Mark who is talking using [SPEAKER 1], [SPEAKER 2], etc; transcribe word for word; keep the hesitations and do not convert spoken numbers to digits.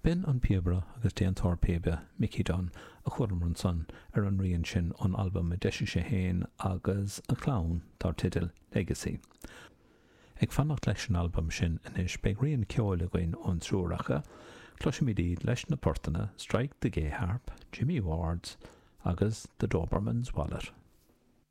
[SPEAKER 1] B'in an píobaire agus déantóir píbe Mickey Dunne a chualamar ansan ar an rian sin ón albam a d'eisigh sé féin agus a chlann dar teideal Legacy. Ag fanacht leis an albam sin anois beidh rian ceoil againn ón triúr acu, cloisfimid iad leis na portanna Strike the Gay Harp, Jimmy Ward's agus The Doberman's Wallet.